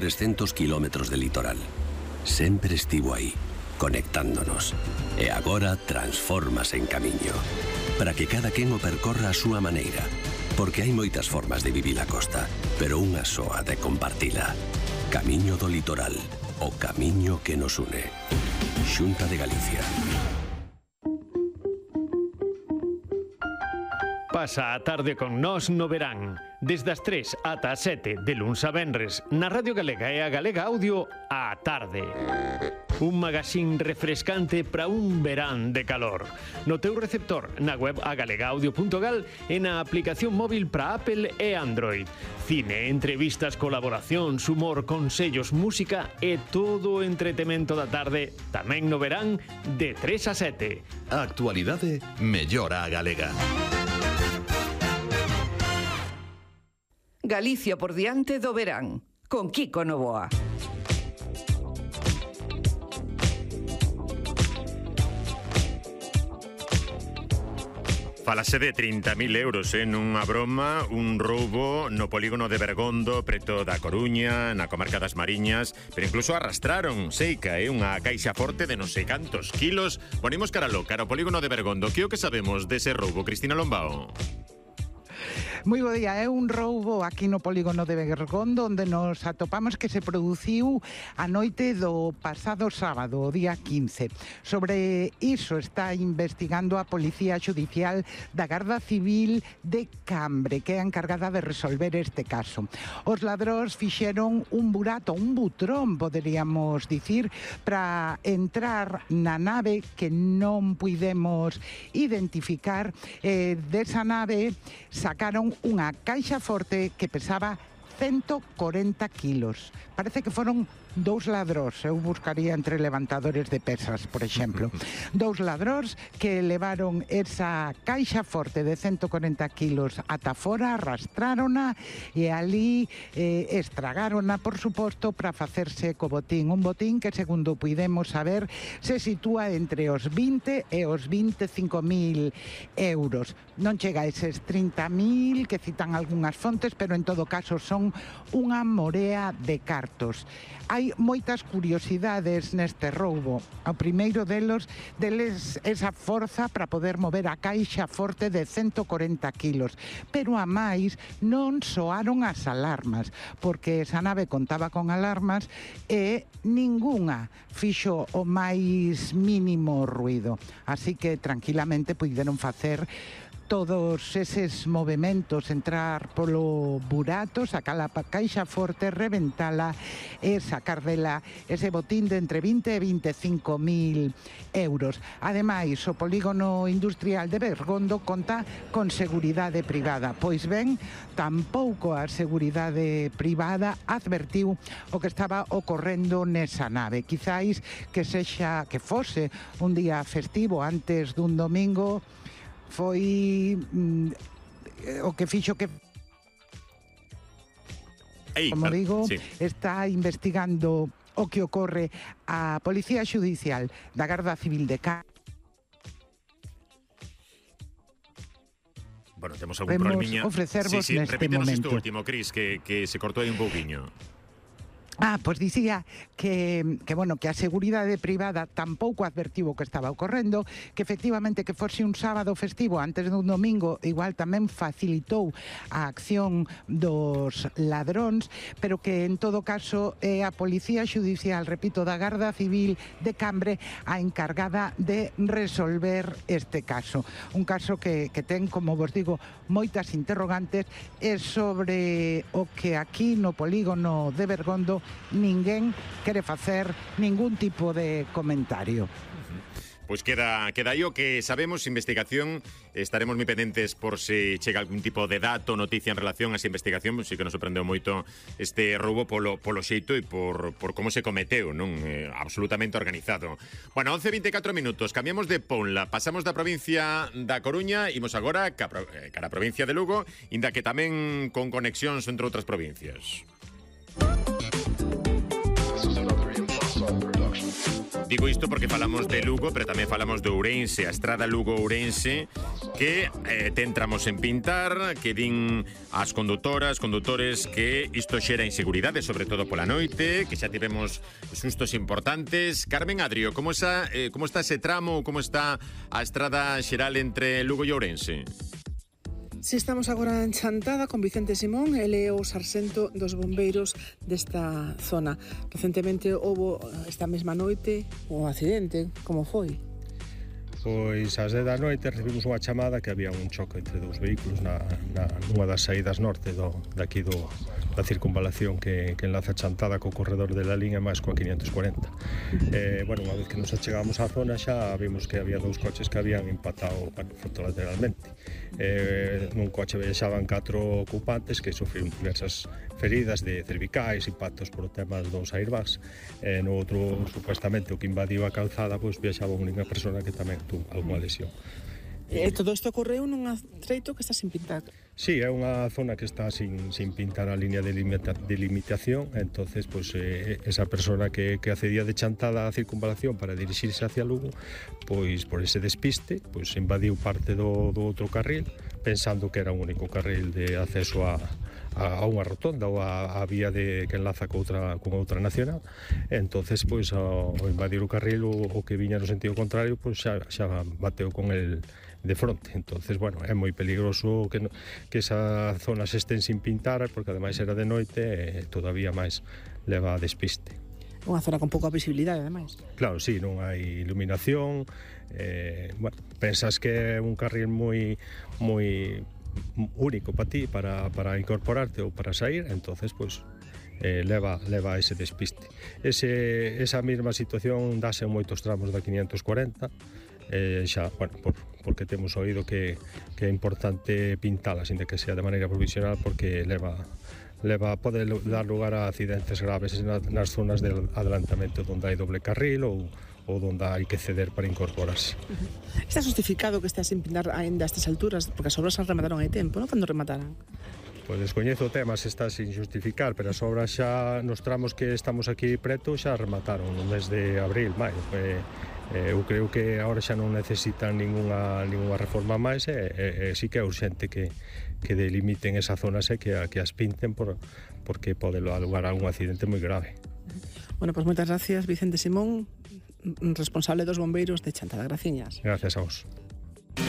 1300 kilómetros de litoral. Sempre estivo aí, conectándonos. E agora transfórmase en camiño, para que cada quen o percorra a súa maneira. Porque hai moitas formas de vivir a costa, pero unha soa de compartila. Camiño do litoral, o camiño que nos une. Xunta de Galicia. Pasa a tarde con nós no verán. Desde as 3 ata as 7 de luns a venres na Radio Galega e a Galega Audio á tarde. Un magazín refrescante para un verán de calor. No teu receptor, na web agalegaudio.gal e na aplicación móvil para Apple e Android. Cine, entrevistas, colaboracións, humor, consellos, música e todo o entretemento da tarde tamén no verán de 3 a 7. A actualidade mellora a galega. Galicia por diante do verán, con Kiko Novoa. Falase de 30.000 euros nunha broma, un roubo no polígono de Bergondo, preto da Coruña, na comarca das Mariñas, pero incluso arrastraron, seica, unha caixa forte de non sei cantos kilos. Ponemos cara ao polígono de Bergondo. Que o que sabemos dese roubo, Cristina Lombao? Moi bo día, é un roubo aquí no polígono de Bergondo onde nos atopamos que se produciu a noite do pasado sábado, o día 15. Sobre iso está investigando a Policía Xudicial da Garda Civil de Cambre, que é a encargada de resolver este caso. Os ladróns fixeron un burato, un butrón, poderíamos dicir, para entrar na nave que non puidemos identificar. Desa nave sacaron unha caixa forte que pesaba 140 kilos. Parece que foron dous ladróns, eu buscaría entre levantadores de pesas, por exemplo. Dous ladróns que levaron esa caixa forte de 140 kilos ata fora, arrastrárona e ali estragárona, por suposto, para facerse co botín. Un botín que, segundo puidemos saber, se sitúa entre os 20 e os 25.000 euros. Non chega a eses 30.000 que citan algunhas fontes, pero en todo caso son unha morea de cartos. Hai moitas curiosidades neste roubo. O primeiro deles esa forza para poder mover a caixa forte de 140 kilos. Pero a máis non soaron as alarmas, porque esa nave contaba con alarmas e ningunha fixo o máis mínimo ruido. Así que tranquilamente puideron facer todos eses movementos, entrar polo burato, sacar a caixa forte, reventala e sacar dela ese botín de entre 20 e 25.000 euros. Ademais, o polígono industrial de Bergondo conta con seguridade privada. Pois ben, tampouco a seguridade privada advertiu o que estaba ocorrendo nesa nave. Quizáis que fose un día festivo antes dun domingo, foi o que fixo que, como digo, sí, está investigando o que ocorre a Policía Xudicial da Garda Civil de Cambre. Bueno, temos algún problemiña. Ofrecervos sí, neste repítenos momento. isto último, Cris, que se cortou aí un pouquiño. Pois dicía que a seguridade privada tampouco advertiu o que estaba ocorrendo, que efectivamente que fose un sábado festivo antes dun domingo igual tamén facilitou a acción dos ladróns, pero que en todo caso é a Policía Xudicial, repito, da Garda Civil de Cambre a encargada de resolver este caso. Un caso que ten, como vos digo, moitas interrogantes e sobre o que aquí no polígono de Bergondo ninguén quere facer ningún tipo de comentario. Pois queda aí o que sabemos, investigación. Estaremos moi pendentes por se chega algún tipo de dato, noticia en relación a esa investigación. Si que nos sorprendeu moito este roubo polo xeito e por como se cometeu, non? Absolutamente organizado. Bueno, 11:24 minutos, cambiamos de Ponla, pasamos da provincia da Coruña, imos agora cara a provincia de Lugo, inda que tamén con conexións entre outras provincias. Digo isto porque falamos de Lugo, pero tamén falamos de Ourense. A estrada Lugo-Ourense que tentramos en pintar, que din as condutores que isto xera inseguridade, sobre todo pola noite, que xa tivemos sustos importantes. Carmen Adrio, como está ese tramo, como está a estrada xeral entre Lugo e Ourense? Si estamos agora en Chantada con Vicente Simón, ele é o sarxento dos bombeiros desta zona. Recentemente houve esta mesma noite un accidente, como foi? Pois ás 10 da noite recibimos unha chamada que había un choque entre dous vehículos nunha das saídas norte daqui da circunvalación que enlaza Chantada co corredor de la línea máis coa 540. Bueno, unha vez que nos achegamos á zona xa vimos que había dous coches que habían impactado frontolateralmente. Nun coche viaxaban 4 ocupantes que sufriron diversas feridas de cervicais, impactos por temas dos airbags. No outro, supuestamente, o que invadiu a calzada, pois viaxaba unha persona que tamén tuvo alguna lesión. Todo isto ocorreu nun treito que está sin pintar. Sí, é unha zona que está sin pintar a línea de limitación, entonces pues, esa persona que accedía de Chantada á circunvalación para dirixirse hacia Lugo, pois por ese despiste, pois invadiu parte do outro carril, pensando que era un único carril de acceso a unha rotonda ou a vía que enlaza con outra nacional. Entonces, pois, ao invadir o carril, o que viña no sentido contrario, pois xa bateu con el de fronte. Entonces, bueno, é moi peligroso que esa zona se estén sin pintar, porque ademais era de noite e todavía máis leva a despiste. Unha zona con pouca visibilidade, ademais. Claro, sí, non hai iluminación. Bueno, pensas que é un carril moi único para ti, para incorporarte ou para sair, entonces, pois, leva ese despiste. Esa mesma situación dáse en moitos tramos da 540, xa, bueno, porque temos oído que é importante pintala, sin que sea de maneira provisional, porque pode dar lugar a accidentes graves nas zonas de adelantamento onde hai doble carril ou onde hai que ceder para incorporarse. Está justificado que estea sin pintar ainda a estas alturas, porque as obras se remataron hai tempo, non? Cando remataran? Pois descoñezo o tema se está sin justificar, pero as obras xa nos tramos que estamos aquí preto xa remataron no mes de abril, maio. Eu creo que agora xa non necesitan ninguna reforma máis, e sí que é urxente que delimiten esa zona e que as pinten porque pode dar lugar a un accidente moi grave. Bueno, pois moitas gracias, Vicente Simón, responsable dos bombeiros de Chantada. Graciñas. Gracias a vos.